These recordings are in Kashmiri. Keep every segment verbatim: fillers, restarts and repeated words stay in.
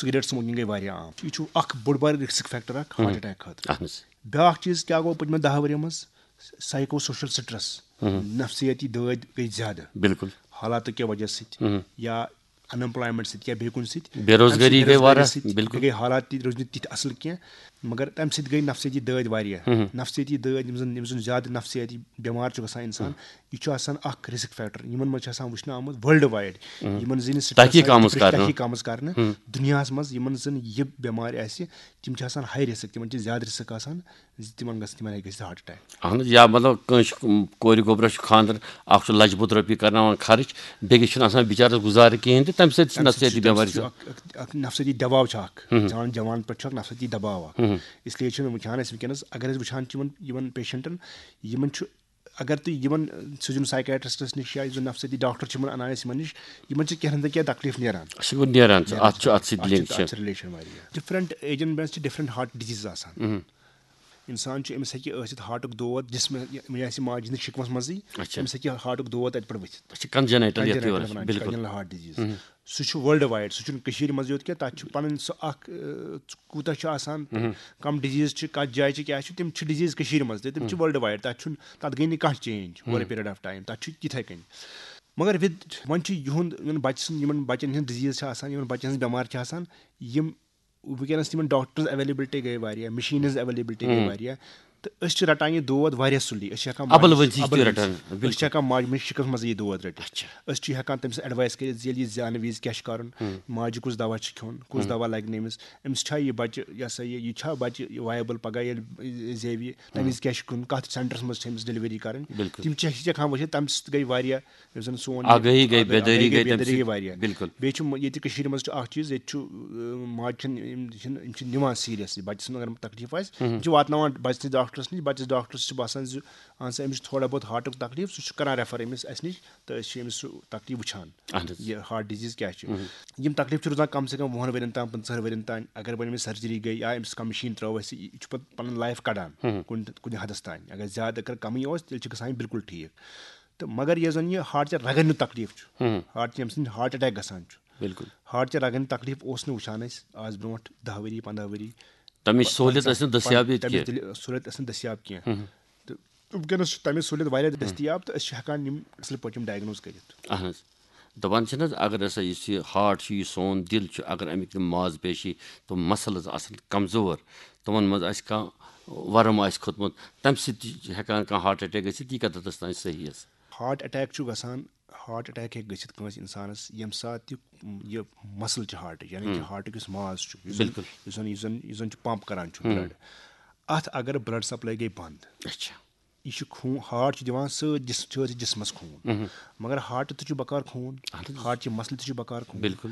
سگریٹ سموکنگ گٔے واریاہ عام۔ یہِ چھُ اکھ بوٚڑ بار رسک فیکٹر اکھ ہارٹ اٹیک خٲطرٕ۔ اہن حظ۔ بیاکھ چیٖز کیٛاہ گوٚو پٔتمٮ۪ن دَہ ؤرین منٛز؟ سایکو سوشل سٹریس، نفسیٲتی دٲدۍ گٔے زیادٕ۔ بالکل۔ حالاتو کہِ وجہ سۭتۍ یا ان ایمپلایمنٹ سۭتۍ یا بیٚیہِ کُنہِ سۭتۍ۔ بے روزگٲری تَمہِ سۭتۍ گٔے واریاہ، سۭتۍ بالکل۔ بیٚیہِ گٔے حالات تہِ روٗدۍ نہٕ تِتھۍ اَصٕل کینٛہہ، مگر تَمہِ سۭتۍ گٔے نفسیٲتی دٲدۍ واریاہ۔ نفسیٲتی دٲدۍ، یِم زَن یِم زَن زیادٕ نفسیٲتی بٮ۪مار چھُ گژھان اِنسان، یہِ چھُ آسان اَکھ رسک فیکٹر۔ یِمَن منٛز چھِ آسان وٕچھنہٕ آمُت ورلڈ وایڈ، یِمَن زِ نہٕ سٹریس تحقیٖق آسہِ، آمٕژ ڈپریشن کرنہٕ۔ تحقیٖق آمٕژ کرنہٕ دُنیاہَس منٛز، یِمَن زَن یہِ بٮ۪مارِ آسہِ، تِم چھِ آسان ہاے رسک، تِمَن چھِ زیادٕ رسک آسان زِ تِمَن گژھِ تِمَن ہیٚکہِ گٔژھِتھ ہارٹ اٹیک۔ اہن حظ، یا مطلب کٲنٛسہِ کورِ گوٚبرس چھُ خانٛدر، اکھ چھُ لچھ بوٚد رۄپیہِ کرناوان خرٕچ، بیٚکِس چھُنہٕ آسان بِچارس گُزارٕ کِہیٖنۍ تہِ، تَمہِ سۭتۍ چھُ نفسیٲتی بٮ۪مارِ چھُ چھُ۔ اکھ، اکھ، اکھ نفسیٲتی دباو چھُ اکھ، جوان، جوان پٮ۪ٹھ چھُ اکھ نفسیٲتی دباو اکھ۔ اس لیے چھُنہٕ وٕچھان أسۍ وٕنکیٚنس، اگر أسۍ وٕچھان چھِ یِمن، یِمن پیشنٹن، یِمن چھُ، اگر تُہۍ یِمن سوٗزِو سایکیٹرسٹس نِش یا یُس زن نفسیٲتی ڈاکٹر چھِ یِمن انان أسۍ یِمن نِش، یِمن چھِ کینٛہہ نتہٕ کینٛہہ تکلیف نیران۔ سُہ گوٚو نیران چھُ، اتھ چھُ، اتھ سۭتۍ اتھ لِنک چھِ، چھِ۔ اتھ چھِ رِلیشن واریاہ۔ ڈفرنٹ ایجن منٛز چھِ ڈفرنٹ ہارٹ ڈِزیٖز آسان۔ انسان چھُ، أمِس ہیٚکہِ ٲسِتھ ہارٹُک دود، جسمہٕ، یہِ آسہِ ماجہِ ہٕنٛدِس شِکمَس منٛزٕے، اچھا۔ أمِس ہیٚکہِ ہارٹُک دود تَتہِ پٮ۪ٹھ ؤتھِتھ۔ اچھا، کنجنیٹل یتھ کنجنٹل یورس، وَنان چھِ، بالکل۔ کنجنٹل ہارٹ ڈِزیٖز۔ سُہ چھُ ورلڈ وایڈ، سُہ چھُنہٕ کٔشیٖرِ منٛز یوت کینٛہہ، تَتہِ چھُ پَنٕنۍ سُہ اَکھ، ٲں، کوٗتاہ چھُ آسان، کَم ڈِزیٖز چھِ، کَتھ جایہِ چھِ، کیٛاہ چھِ، تِم چھِ ڈِزیٖز کٔشیٖرِ منٛز تہِ، تِم چھِ ورلڈ وایڈ، تَتہِ چھُنہٕ، تَتھ گٔے نہٕ کانٛہہ change over a period of time, تَتھ چھُ تِتھَے کٔنۍ۔ مگر وِد، وۄنۍ چھُ یِہُنٛد، یِمَن بَچہِ سُنٛد، یِمَن بَچَن ہٕنٛز ڈِزیٖز چھِ آسان، یِمَن بَچَن ہٕنٛز بٮ۪مارِ چھِ آسان، یِم وٕنکیٚنَس تِمَن ڈاکٹرز اویلیبلٹی گٔے واریاہ، مِشیٖنٕز اویلیبلٹی گٔے واریاہ، تہٕ أسۍ چھِ رَٹان یہِ دود واریاہ سُلی۔ أسۍ چھِ ہٮ۪کان اَبَل ماجہِ ؤنٛزی چھِ اَبَل رَٹان، ؤنٛزی۔ بِلکُل۔ أسۍ چھِ ہٮ۪کان ماجہِ ہٕنٛدِس شِکمَس منٛز یہِ دود رٔٹِتھ۔ اچھا۔ أسۍ چھِ ہٮ۪کان تٔمِس ایڈوایس کٔرِتھ زِ ییٚلہِ یہِ زٮ۪نہٕ وِزِ کیٛاہ چھُ کَرُن، ماجہِ کُس دوا چھُ کھیوٚن، کُس دوا لَگہِ نہٕ أمِس، أمِس چھا یہِ بَچہِ، یہِ ہسا یہِ، یہِ چھا بَچہِ وایبل پَگاہ ییٚلہِ زیوِ، تَمہِ وِزِ کیٛاہ چھُ کَرُن، کَتھ سینٹرَس منٛز چھِ أمِس ڈیلؤری کَرٕنۍ۔ بِلکُل۔ تِم چھِ، چھِ ہٮ۪کان وٕچھِتھ، تَمہِ سۭتۍ گٔے واریاہ یُس زَن سون آگٲہی گٔے، آگٲہی بیدٲری گٔے تَمہِ بیدٲری سۭتۍ۔ واریاہ۔ بِلکُل۔ بیٚیہِ چھُ ییٚتہِ کٔشیٖرِ منٛز چھُ اَکھ چیٖز، ییٚتہِ چھُ، اۭں، ماجہِ چھِنہٕ، یِم چھِنہٕ، یِم چھِنہٕ نِوان سیٖریَسلی۔ بَچَس منٛز اگر تَکلیٖف آسہِ، یِم چھِ واتناوان بَچَس نِش ڈاکٹرَس نِش، بَچَس ڈاکٹرَس چھِ باسان زِ اَہَن سا أمِس چھُ تھوڑا بہت ہارٹُک تَکلیٖف، سُہ چھُ کَران ریفر أمِس اَسہِ نِش، تہٕ أسۍ چھِ أمِس سُہ تَکلیٖف وٕچھان۔ اَہَن حظ۔ یہِ ہارٹ ڈِزیٖز کیٛاہ چھِ۔ یِم تَکلیٖف چھِ روزان کَم سے کَم وُہَن ؤرِین تام، پٕنٛژٕہَن ؤرِین تام۔ اگر وۄنۍ أمِس سرجری گٔے یا أمِس کانٛہہ مِشیٖن ترٛٲو اَسہِ، یہِ چھُ پَتہٕ پَنٕنۍ لایف کَڑان کُنہِ، کُنہِ حدَس تام۔ اگر زیادٕ، اگر کَمٕے اوس، تیٚلہِ چھِ گژھان یہِ بِلکُل ٹھیٖک۔ تہٕ مگر یۄس زَن یہِ ہارٹ چہِ رَگَن ہُنٛد تَکلیٖف چھُ، ہارٹ چہِ ییٚمہِ سۭتۍ ہارٹ اٹیک گژھان چھُ، بِلکُل۔ ہارٹ چہِ رَگَن ہُنٛد تَکلیٖف اوس نہٕ وٕچھان أسۍ آز برونٛٹھ دَہ ؤری، پنٛداہ ؤری۔ تَمِچ سہوٗلیت ٲس نہٕ دٔستیاب ییٚتہِ تَمِچ کینٛہہ۔ دٔلیٖل، سہوٗلیت ٲس نہٕ دٔستیاب کینٛہہ۔ تہٕ وٕنکیٚنَس چھِ تَمِچ سہوٗلیت واریاہ دٔستیاب، تہٕ أسۍ چھِ ہٮ۪کان یِم اَصٕل پٲٹھۍ یِم ڈایگنوز کٔرِتھ۔ اہن حظ۔ دَپان چھِنہٕ حظ، اگر ہسا یُس یہِ ہارٹ چھُ، یہِ سون دِل چھُ، اگر اَمِکۍ تِم ماز پیشی، تِم مسلز آسَن کمزور، تِمَن منٛز آسہِ کانٛہہ ورم آسہِ کھوٚتمُت، تَمہِ سۭتۍ تہِ چھِ ہٮ۪کان کانٛہہ ہارٹ اٹیک گٔژھِتھ، یہِ کَتھ حدس تام صحیح حظ؟ ہارٹ اٹیک چھُ گژھان، ہارٹ اٹیک ہیٚکہِ گٔژھِتھ کٲنٛسہِ اِنسانَس ییٚمہِ ساتہٕ یہِ، یہِ مسل چھِ ہارٹٕچ، یعنی کہِ ہارٹُک یُس ماز چھُ، یُس زَن، بِلکُل۔ یُس زَن، یُس زَن، یُس زَن چھُ پمپ کران چھُ بلڈ، اَتھ اگر بلڈ سپلاے گٔے بنٛد، اچھا۔ یہِ چھُ خوٗن، ہارٹ چھُ دِوان سٲرۍ جِس-، سٲرۍ جِسمَس خوٗن۔ مگر ہارٹ تہِ چھُ بکار خوٗن، ہارٹ چہِ مسلہِ تہِ چھُ بکار خوٗن۔ بِلکُل۔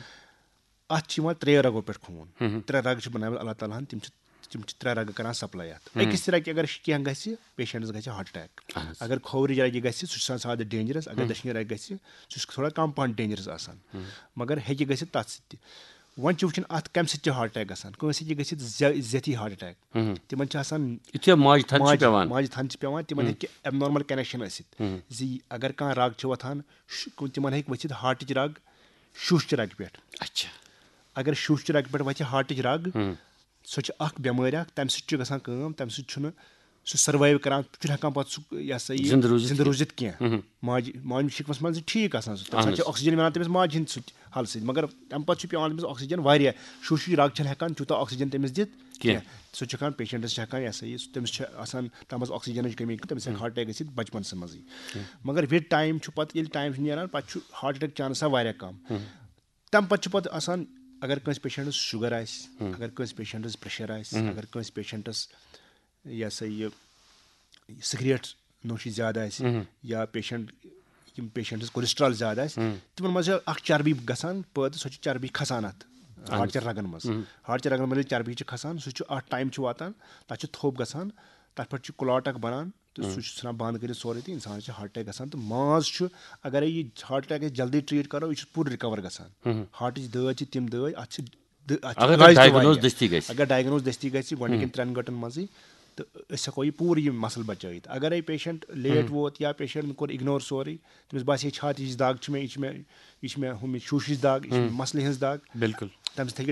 اَتھ چھِ یِوان ترٛیٚیو رگو پٮ۪ٹھ خوٗن۔ ترٛےٚ رگ چھِ بنٲومٕتۍ اللہ تعالیٰ ہَن، تِم چھِ، تِم چھِ ترٛےٚ رگہٕ کران سپلاے اَتھ۔ أکِس تہِ رگہِ اگر کینٛہہ گژھِ، پیشنٹس گژھِ ہارٹ اٹیک۔ اگر کھوورِ رگہِ گژھِ، سُہ چھُ آسان زیادٕ ڈینجرس۔ اگر دٔچھنہِ رگہِ گژھِ، سُہ چھُ تھوڑا کم پہن ڈینجرس آسان۔ مگر ہیٚکہِ گٔژھِتھ تَتھ سۭتۍ تہِ۔ وۄنۍ چھِ وٕچھُن اَتھ کَمہِ سۭتۍ چھِ ہارٹ اٹیک گژھان۔ کٲنٛسہِ ہیٚکہِ گٔژھِتھ زے-، زیتھی ہارٹ اٹیک۔ تِمن چھِ آسان یُتھُے ماجہِ تھَن چھِ ماجہِ، پٮ۪وان۔ ماجہِ تھَن چھِ پٮ۪وان، تِمن ہیٚکہِ ایب نارمل کنیکشن ٲسِتھ۔ زِ اگر کانٛہہ رگ چھِ وۄتھان، شُ-، تِمن ہیٚکہِ ؤتھِتھ ہارٹٕچ رگ شُش چہِ رگہِ پٮ۪ٹھ۔ اچھا۔ اگر شُش چہِ رگہِ پٮ۪ٹھ وتھِ ہارٹٕچ رگ، سۄ چھِ اکھ بٮ۪مٲرۍ اکھ، تمہِ سۭتۍ چھُ گژھان کٲم، تمہِ سۭتۍ چھُنہٕ سُہ سروایو کران، چھُنہٕ ہٮ۪کان پتہٕ سُہ، یہِ ہسا یہِ، زِندٕ روٗزِتھ زِندٕ کینٛہہ۔ روٗزِتھ کینٛہہ۔ ماجہِ، ماجہِ شِکمس منٛز چھِ ٹھیٖک آسان سُہ، تمہِ اہن ساتہٕ چھِ حظ۔ آکسیجن مِلان تٔمِس ماجہِ ہِنٛدِ سۭتۍ حل سۭتۍ، مگر تمہِ پتہٕ چھُ پٮ۪وان تٔمِس آکسیجن واریاہ، شُش رگ چھنہٕ ہٮ۪کان تیوٗتاہ آکسیجن تٔمِس دِتھ کینٛہہ۔ کینٛہہ۔ سُہ چھُ ہٮ۪کان پیشنٹس چھِ ہٮ۪کان، یہِ ہسا یہِ، تٔمِس چھِ آسان تمہِ منٛز آکسیجنٕچ کمی، تٔمِس ہٮ۪کہِ ہارٹ اٹیک گٔژھِتھ بچپنسٕے منٛزٕے۔ مگر وِد ٹایم چھُ پتہٕ، ییٚلہِ ٹایم چھُ نیران، پتہٕ چھُ ہارٹ اٹیک چانس آسان واریاہ کم۔ تَمہِ پَتہٕ چھُ پَتہٕ آسان، اگر کٲنٛسہِ پیشنٹس شُگر آسہِ، اگر کٲنٛسہِ پیشنٹس پریشر آسہِ، اگر کٲنٛسہِ پیشنٹس، یہِ ہسا یہِ، سگریٹ نوشی زیادٕ آسہِ، یا پیشنٹ، یِم پیشنٹس کولیسٹرال زیادٕ آسہِ، تِمن منٛز چھِ اکھ چربی گژھان پٲدٕ، سۄ چھِ چربی کھسان اَتھ ہارٹ چہِ رگن منٛز۔ ہارٹ چہِ رگن منٛز ییٚلہِ چربی چھِ کھسان، سُہ چھُ اکھ ٹایم چھُ واتان، تَتھ چھُ تھوٚپ گژھان، تَتھ پٮ۪ٹھ چھُ کلاٹ اکھ بنان، تہٕ سُہ چھُ ژھٕنان بنٛد کٔرِتھ سورُے، تہٕ اِنسانَس چھِ ہارٹ اٹیک گژھان۔ تہٕ ماز چھُ، اگرے یہِ ہارٹ اٹیک أسۍ جلدی ٹریٖٹ کرو، یہِ چھُ پوٗرٕ رِکور گژھان۔ ہارٹٕچ دٲدۍ چھِ تِم دٲدۍ، اَتھ چھِ دٲ-، اَتھ چھِ اگر علاج تہِ diagnose واریاہ۔ دٔستی گژھِ۔ اگر ڈایگنوز دٔستی گژھِ گۄڈٕنِکٮ۪ن ترٛٮ۪ن گٲنٛٹن منٛزٕے، تہٕ أسۍ ہٮ۪کو یہِ پوٗرٕ یہِ مسلہٕ بچٲیِتھ۔ اگرے پیشنٹ لیٹ ووت یا پیشنٹن کوٚر اگنور سورُے، تٔمِس باسہِ، ہے چھاتہِ ہِش دگ چھِ مےٚ، یہِ چھِ مےٚ، یہِ چھِ مےٚ ہُمہِ شوٗشِچ دگ، یہِ چھِ مےٚ مسلہِ ہٕنٛز دگ، بِلکُل۔ تَمہِ سۭتۍ ہیٚکہِ